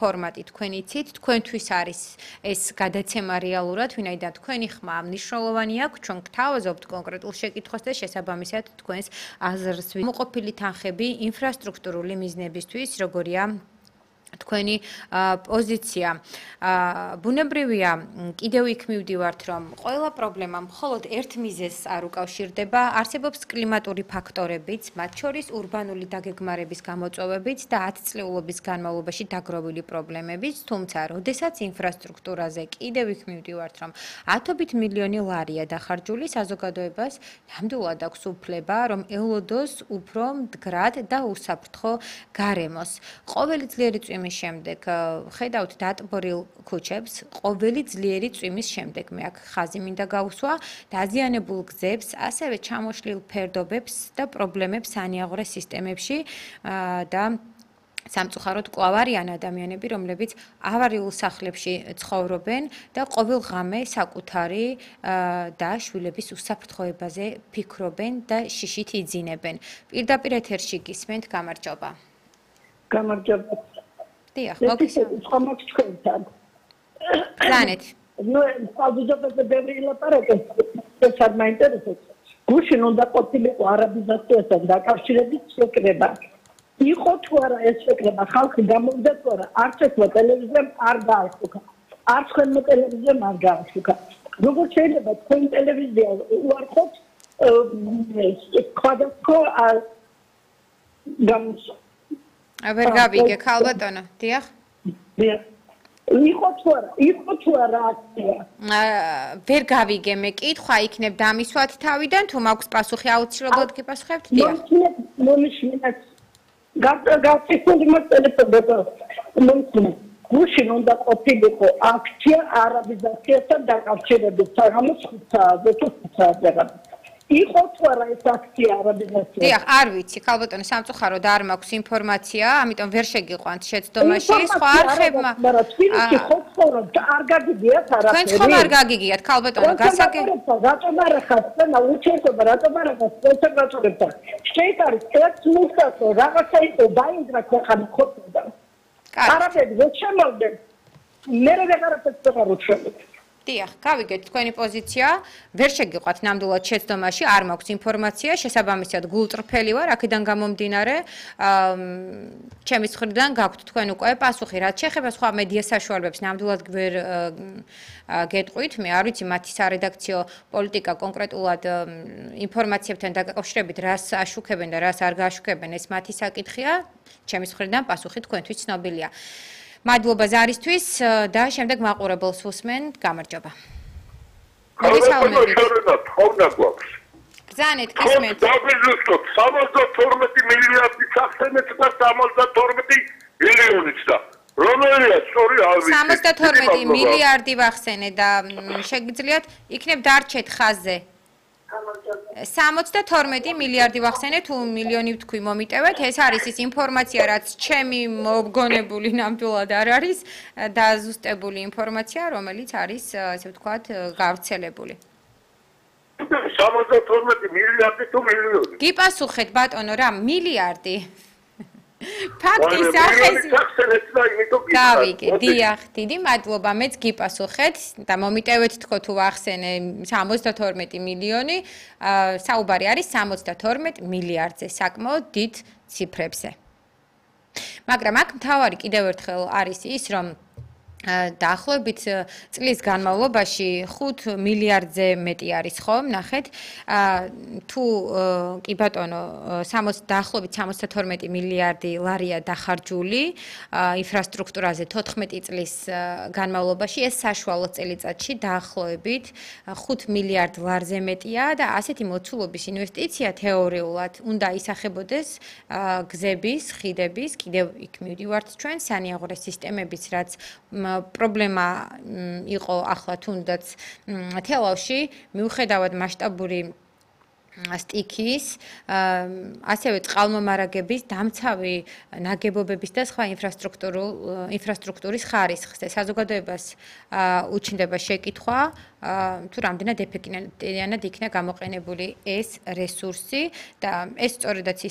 ფორმატი თქვენ იცით, თქვენთვის არის ეს გადაცემა რეალურად, ვინაიდან თქვენი ხმა მნიშვნელოვანი აქვს, ჩვენ გთავაზობთ კონკრეტულ შეკითხვას და შესაბამისად თქვენს აზრს მოყოფილი თანხები ინფრასტრუქტურული მიზნებისთვის, როგორია თქვენი პოზიცია. ბუნებრივია, კიდევ იქ მივდივართ, რომ ყველა პრობლემა მხოლოდ ერთ მიზეზს არ უკავშირდება, არსებობს კლიმატური ფაქტორებიც, მათ შორის ურბანული დაგეგმარების გამოწვევებიც და 10 წლეულობის განმავლობაში დაგროვილი პრობლემებიც, თუმცა, როდესაც ინფრასტრუქტურაზე კიდევ იქ მივდივართ, რომ ათობით მილიონი ლარია დახარჯული, საზოგადოებას ნამდვილად აქვს უფლება, რომ ელოდოს უფრო მდგრად და უსაფრთხო გარემოს. ყოველი ძლიერი წვიმის შემდეგ ხედავთ დატბორილ ქუჩებს, ყოველი ძლიერი წვიმის შემდეგ მე აქ ხაზი მინდა გავუსვა, დაზიანებულ გზებს, ასევე ჩამოშლილ ფერდობებს და პრობლემებს სანიაღვრე სისტემებში და სამწუხაროდ კვლავ არიან ადამიანები, რომლებიც ავარიულ სახლებში ცხოვრობენ და ყოველ ღამე საკუთარი და შვილების უსაფრთხოებაზე ფიქრობენ და შიშით იძინებენ. პირდაპირ ეთერში გისმენთ, გამარჯობა. გამარჯობა. დიახ, მოგესალმებით. ხომაც თქვენთან. ბრძანეთ. ნუ საზოგადოებაზე ბევრი ლაპარაკობს, ეს არ მაინტერესებს. გუშინ უნდა ყოფილიყო არაბიზაციასთან დაკავშირებით შეკრება. იყო თუ არა ეს შეკრება, ხალხი გამოვიდა თუ არა, არც ერთმა ტელევიზიამ არ გააშუქა. არც თქვენმა ტელევიზიამ არ გააშუქა. როგორ შეიძლება თქვენ ტელევიზია უარყოფთ სხვადასხვა გამოსვლა. ვერ გავიგე, ქალბატონო, დიახ. დიახ. იყო თუ არა აქცია. ვერ გავიგე, მე კითხვა იქნებ დამისვათ თავიდან, თუ მაქვს პასუხი აუცილებლად გიპასუხებთ? დიახ. მომიშმინეთ. გაწესული მოტელეფონებო. მომიშმინეთ. გუშინ უნდა ყოფილიყო აქცია არაბიზაციასთან დაკავშირებით, საღამოს 5 საათზე თუ 5 საათზე. იყო თუ არა ეს აქცია არაბიზაცია? დიახ, არ ვიცი, ქალბატონო, სამწუხაროდ არ მაქვს ინფორმაცია, ამიტომ ვერ შეგიყვანთ შეცდომაში, სხვა არხებმა. მაგრამ თბილისში ხო ცხოვრობთ, არ გაგიგიათ არაფერი. თქვენ ხომ არ გაგიგიათ, ქალბატონო, რატომ არ ხართ? უჩვენობა, რატომ არ ხართ კონსერვატორებთან? შეიძლება არის ერთ მუსკატო, რაღაცა იყო დაინგრა ქვეყანა ხოთდა. არაფერი ვერ შემოვიდნენ. მე რაღაცა აღარ უჩვენებთ. დიახ, გავიგეთ თქვენი პოზიცია, ვერ შეგიყვათ ნამდვილად შეცდომაში, არ მაქვს ინფორმაცია, შესაბამისად გულწრფელი ვარ, აქედან გამომდინარე, ჩემის მხრიდან გაქვთ თქვენ უკვე პასუხი, რაც შეეხება სხვა მედია საშუალებებს, ნამდვილად ვერ გეტყვით, მე არ ვიცი მათი სარედაქციო პოლიტიკა კონკრეტულად ინფორმაციებთან დაკავშირებით, რას აშუქებენ და რას არ გააშუქებენ, ეს მათი საკითხია, ჩემის მხრიდან პასუხი თქვენთვის ცნობილია. მადლობა ზარისთვის და შემდეგ მაყურებელს უსმენ, გამარჯობა. მოგესალმებით. ბრძანეთ, გისმენთ. დავიზუსტოთ 72 მილიარდი სახსენეთ და 72 მილიონიც და რომელია სწორი არ ვიცი. 72 მილიარდი ვახსენე და შეგიძლიათ იქნებ დარჩეთ ხაზზე. 72 მილიარდი ვახსენე თუ მილიონი ვთქვი მომიტევეთ, ეს არის ის ინფორმაცია, რაც ჩემი მოგონებული ნამდვილად არ არის დაზუსტებული ინფორმაცია, რომელიც არის, ასე ვთქვათ, გავრცელებული. 72 მილიარდი თუ მილიონი. გიპასუხეთ ბატონო რა, მილიარდი. ფაქტის სახეზე. გავიგე, დიახ, დიდი მადლობა, მეც გიპასუხეთ და მომიტევეთ თქო თუ ვახსენე 72 მილიონი, საუბარი არის 72 მილიარდზე, საკმაოდ დიდ ციფრებზე. მაგრამ აქ მთავარი კიდევ ერთხელ არის ის, რომ დაახლოებით წლის განმავლობაში 5 მილიარდზე მეტი არის ხომ, ნახეთ. თუ კი ბატონო, დაახლოებით 72 მილიარდი ლარია დახარჯული ინფრასტრუქტურაზე 14 წლის განმავლობაში, ეს საშუალო წელიწადში დაახლოებით 5 მილიარდ ლარზე მეტია და ასეთი მოცულობის ინვესტიცია თეორიულად უნდა ისახებოდეს გზების, ხიდების, კიდევ იქ მივდივართ ჩვენ სანიაღვრე სისტემების, რაც პრობლემა იყო ახლა თუნდაც თელავში, მიუხედავად მასშტაბური სტიქის, ასევე წყალმომარაგების, დამცავი ნაგებობების და სხვა ინფრასტრუქტურის ხარისხზე. საზოგადოებას უჩნდება შეკითხვა, თუ რამდენად ეფექტიანად იქნა გამოყენებული ეს რესურსი და ეს სწორედაც ის